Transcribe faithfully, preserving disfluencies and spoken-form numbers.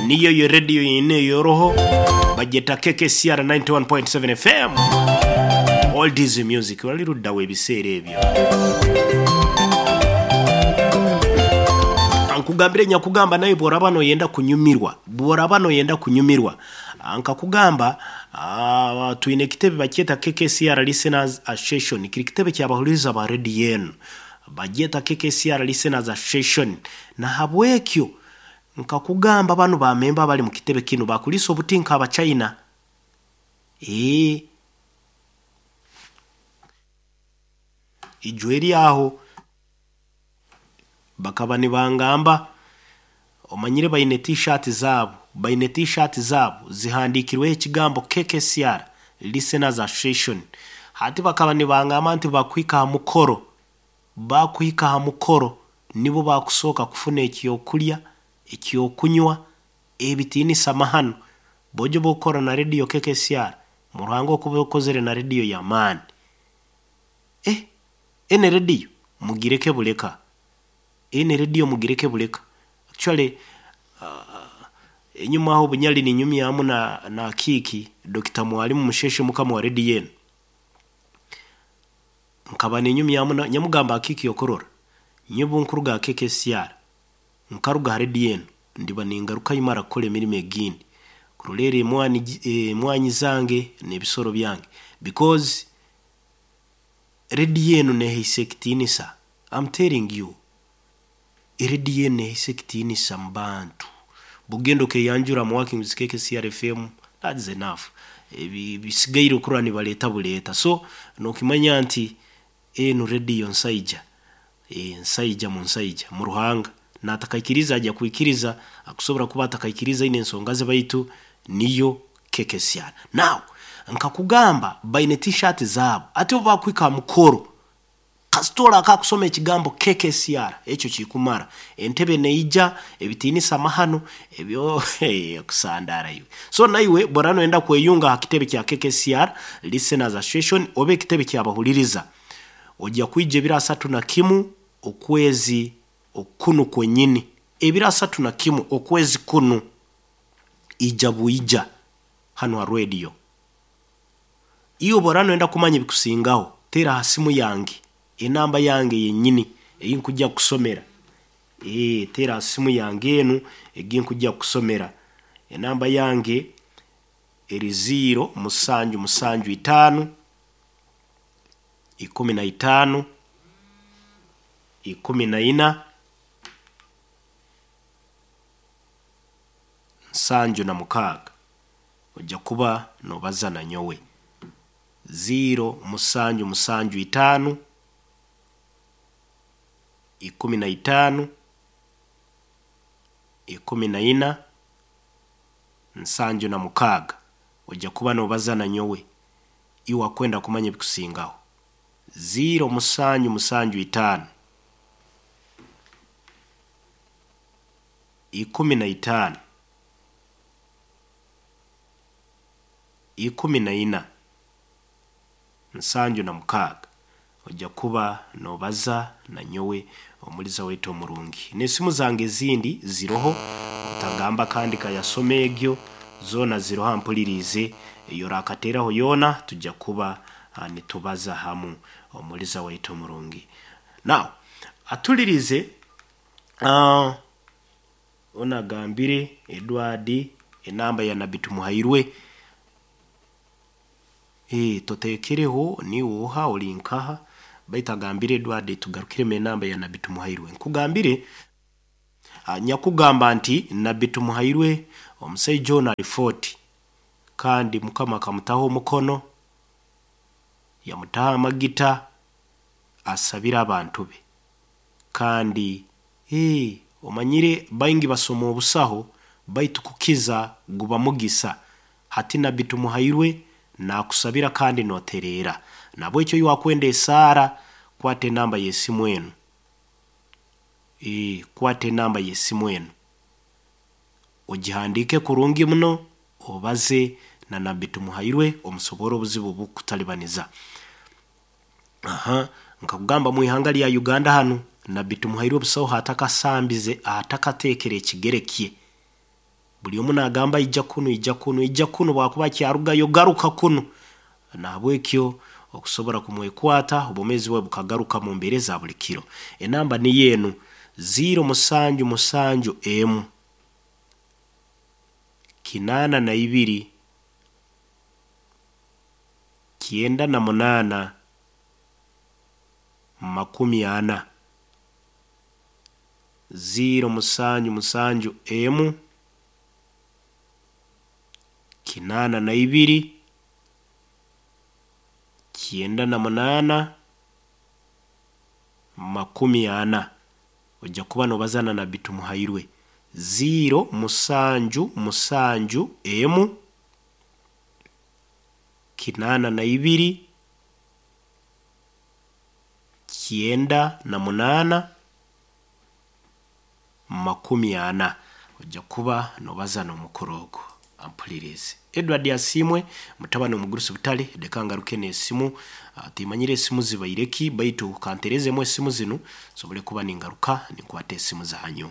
Niyo yo radio yine yoroho bagyeta K K C R ninety-one point seven F M. All this music waliruddawo ebiseera ebyo. Nkugambire nyakugamba naye bw'oraba noyenda kunyumirwa, bw'oraba noyenda kunyumirwa, nkakugamba uh, twine ekitebe bakyeta K K C R Listeners Association, kiri kitebe ky'abahuliriza ba radio eno bagyeta K K C R Listeners Association. Na habwekyo nkakugamba bano bamemba bali mu kitebe kino bakulisa obutinka abachina eh ijweri aho bakaba nibangamba omanyire bayine t-shirt zabo, bayine t-shirt zabo zihandikirwe ekigambo K K C R Listeners Association. Hati bakaba nibangamba nti bakwika mukoro, bakwika mukoro nibo bakusoka kufuna ekyokulya ekyokunywa ebitiinisa mahano bojo bokora na radio K K C R muruhango okubokozere na radio ya maani. Eh ene radio mugireke buleka, ene radio mugireke buleka. Actually uh, enyuma aho bunyali ni nyumya na na kiki Doctor Mwalimu Musheshe mukama wa radio eno nkaba ninyumya na nyamugamba kiki yokorora nyebu nkuruga K K C R nkaruga radio eno ndiba ningaruka imara kukora emirimo egindi kurolera emwani emwanyi zange n'ebisoro byange because radio eno nehisekitinisa. I'm telling you, radio eno nehisekitinisa mbantu bugendo ke yanjura mu working with K K C R F M, that is enough. Bisigaire okurwa nibaleta buleta. So nokimanya nti eno radio nsaija e, nsaija mu nsaija mu ruhanga natakaikiriza ajya kuikiriza akusobora kuba atakaikiriza ine ensonga ze baitu niyo K K C R. Now nkakugamba baine t-shirt zabo ate bakwika mukoro kasitola akakusoma ekigambo K K C R ekyo kikumara entebe neija ebitiinisa mahano ebyo hey, kusandara iwe. So naiwe borano enda kweyunga ha kitebe kya K K C R Listeners Association obe ekitebe kyabahuliriza ojja kwija ebiro asatu na kimu okwezi okunu kwenyini, ebiro asatu na kimu okwezi kunu ija buija hano ha radio. Iyo borano enda kumanya bikusingaho tera hasimu yange enamba yange yenyini eyinkujja kusomera eh tera simu yange enu eginkujja kusomera enamba yange eri zero musanju musanju itano ikumi na itano ikumi na ina nsanju na mukaaga ojja kuba nobaza na nyowe zero musanju musanju itano ikumi na itano ikumi na ina nsanju na mukaaga ojja kuba nobaza na nyowe iwa kwenda kumanya bikusingaho zero musanju musanju itano ikumi na itano ikumi na ina nsanju na mukaaga ojja kuba nobaza na nyowe omuliza wetu omurungi. N'esimu zange ezindi ziroho otagamba kandi kayasome egyo zona ziroho mpulirize eyo rakateraho yona tujja kuba uh, nitubaza hamu omuliza wetu omurungi. Now atulirize uh, onagambire Edward enamba ya Nabbi Tumuhairwe eh totekereho ni woha olinkaha baitagambire Edward tugarukire enamba ya Nabbi Tumuhairwe. Nkugambire nyakugamba nti Nabbi Tumuhairwe omusajja ono ali forty kandi mukama akamutaho omukono yamutaho amagita asabira abantu be kandi eh omanyire baingi basoma obusaho baitu kukiza guba mugisa. Hati Nabbi Tumuhairwe nakusabira kandi noterera nabo ekyo yakwenda esara kwate namba yesimu eno eh kwate namba yesimu eno ogihandike kurungi muno obaze na Nabbi Tumuhairwe omusobora obuzibu bukutalibaniza. Aha nkakugamba mu ihanga lya Uganda hano Nabbi Tumuhairwe obusaho atakasambize atakatekere ekigerekye Buli omu naagamba ija kunu, ija kunu, ija kunu, bwakuba akyarugayo garuka kunu. Nahabwekyo okusobora kumwekwata obwomeezi bwe bukagaruka mu mbeera eza buli kiro. Enamba niyo enu ziro musanju musanju emu kinaana na ibiri kyenda na munaana makumi ana, ziro musanju musanju emu kinaana na ibiri kyenda na munaana makumi ana. Ojja kuba nobaza na Nabbi Tumuhairwe. Ziro musanju musanju emu kinaana na ibiri kyenda na munaana makumi ana. Ojja kuba nobaza n'omukuru ogu ampulirize. Edward Asiimwe mutabani omugurusi butale, leka ngaruke n'esimu. Ah, timanyire esimu zibaire ki, baitu kanterezemu esimu zinu nsobole kuba ningaruka ninkwata esimu zanyu.